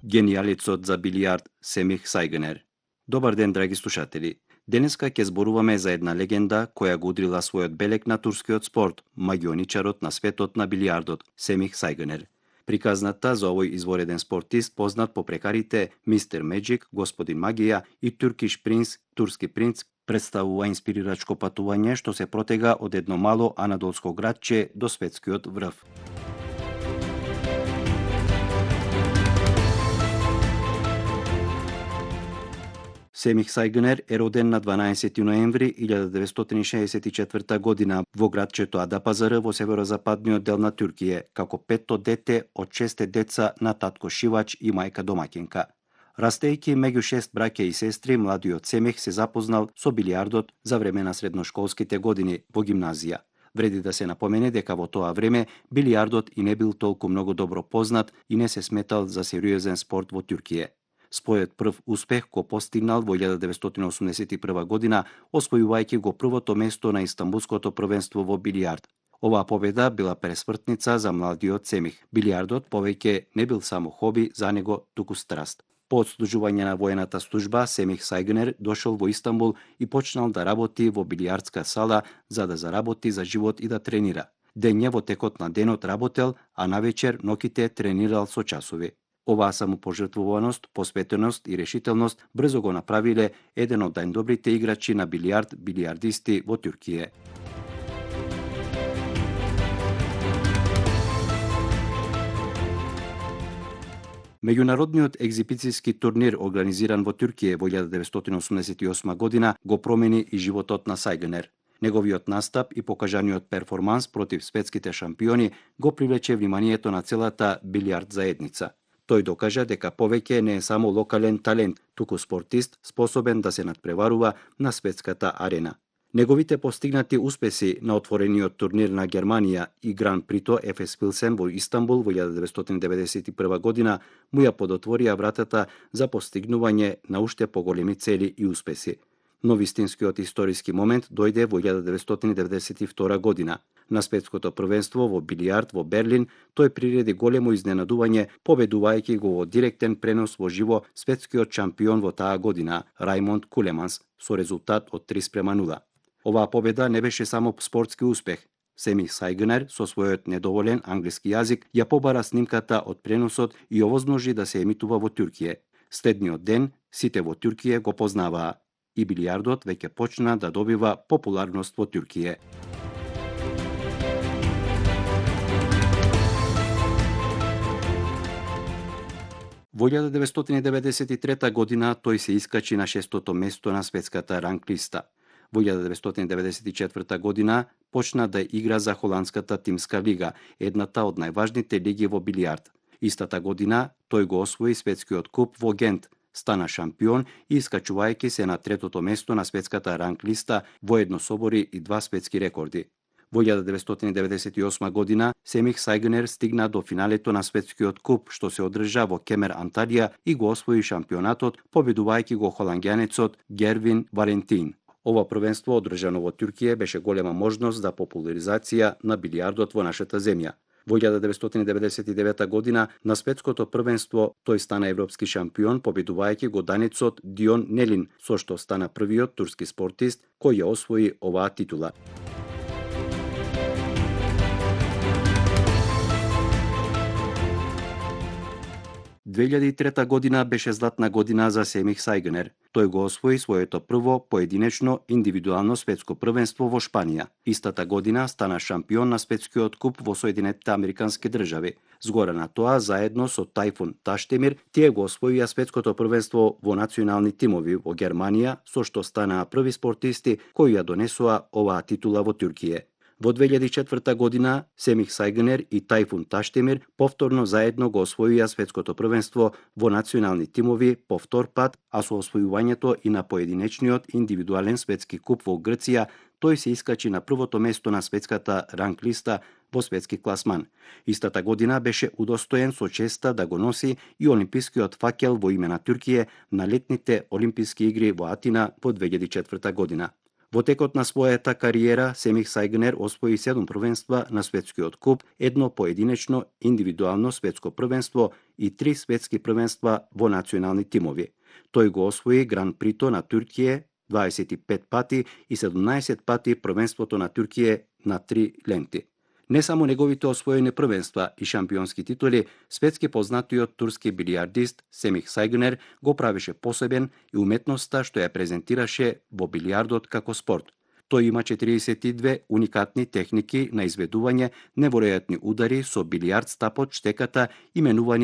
Генијалецот за билијард Семих Сајгнер. Добар ден, драги слушатели. Денеска ќе зборуваме за една легенда која го удрила својот белег на турскиот спорт, магионичарот на светот на билијардот Семих Сајгнер. Приказната за овој извореден спортист, познат по прекарите Мистер Меджик, Господин Магија и Туркиш принц, турски принц, представува инспирирачко патување што се протега од едно мало анадолско градче до светскиот врв. Семих Сајгнер е роден на 12 ноември 1964 година во градчето Адапазары во северозападниот дел на Туркија, како петто дете од 6 деца на татко шивач и мајка домаќинка. Растејќи меѓу 6 браќа и сестри, младиот Семих се запознал со билијардот за време на средношколските години во гимназија. Вреди да се напомене дека во тоа време билијардот и не бил толку многу добро познат и не се сметал за сериозен спорт во Туркија. Својот прв успех го постигнал во 1981 година, освојувајќи го првото место на Истанбулското првенство во билијард. Оваа победа била пресвртница за младиот Семих. Билијардот повеќе не бил само хоби за него, туку страст. По одслужување на воената служба, Семих Сајгнер дошол во Истанбул и почнал да работи во билијардска сала за да заработи за живот и да тренира. Дење во текот на денот работел, а навечер ноќите тренирал со часови. Оваа самопожртвуваност, посветеност и решителност брзо го направиле еден од најдобрите играчи на билијард, билијардисти во Туркија. Меѓународниот екзибицијски турнир организиран во Туркија во 1988 година го промени и животот на Сајгнер. Неговиот настап и покажаниот перформанс против светските шампиони го привлече вниманието на целата билијард заедница. Тој докажа дека повеќе не е само локален талент, туку спортист способен да се надпреварува на светската арена. Неговите постигнати успеси на отворениот турнир на Германија и Гран Прито ФС Пилсен во Истанбул во 1991 година му ја подотворија вратата за постигнување на уште поголеми цели и успеси. Но вистинскиот историски момент дојде во 1992 година. На светското првенство во билијард во Берлин тој приреди големо изненадување, победувајќи го во директен пренос во живо светскиот шампион во таа година Рајмонд Кулеманс со резултат од 3:0. Оваа победа не беше само спортски успех. Семих Сајгнер со својот недоволен англиски јазик ја побара снимката од преносот и овозможи да се емитува во Туркија. Следниот ден сите во Туркија го познаваа и билијардот веќе почна да добива популарност во Туркија. Во 1993 година тој се искачи на 6-то место на светската ранглиста. Во 1994 година почна да игра за холандската тимска лига, едната од најважните лиги во билијард. Истата година тој го освои светскиот куп во Гент, стана шампион и искачувајќи се на 3-то место на светската ранглиста, воедно собори и 2 светски рекорди. Во 1998 година Семих Сајгнер стигна до финалето на светскиот куп што се одржа во Кемер, Анталија и го освои шампионатот, победувајќи го холанѓанецот Гервин Валентин. Ова првенство одржано во Туркија беше голема можност за популаризација на билијардот во нашата земја. Во 1999 година на светското првенство тој стана европски шампион, победувајќи го данецот Дион Нелин, со што стана првиот турски спортист кој ја освои оваа титула. Две 2003 година беше златна година за Семих Сајгнер. Тој го освои своето прво поединечно индивидуално светско првенство во Шпанија. Истата година стана шампион на светскиот куп во Соединетите Американски држави. Згора на тоа, заедно со Тајфун Таштемир, тие го освоија светското првенство во национални тимови во Германија, со што станаа први спортисти кои ја донесоа оваа титула во Туркија. Во 2004 година Семих Сајгнер и Тајфун Таштемир повторно заедно го освоија светското првенство во национални тимови по втор пат, а со освојувањето и на поединечниот индивидуален светски куп во Грција, тој се искачи на првото место на светската ранглиста во светски класман. Истата година беше удостоен со честа да го носи и олимпискиот факел во име на Туркија на летните олимписки игри во Атина во 2004 година. Во текот на својата кариера, Семих Сајгнер освои 7 првенства на светскиот куп, едно поединечно индивидуално светско првенство и 3 светски првенства во национални тимови. Тој го освои Гран Прито на Туркија 25 пати и 17 пати првенството на Туркија на 3 ленти. Не само неговите освоени првенства и шампионски титули, светски познатиот турски билијардист Семих Сајгнер го правеше посебен и уметноста што ја презентираше во билијардот како спорт. Тој има 42 уникатни техники на изведување неверојатни удари со билијард стапот штеката, именувани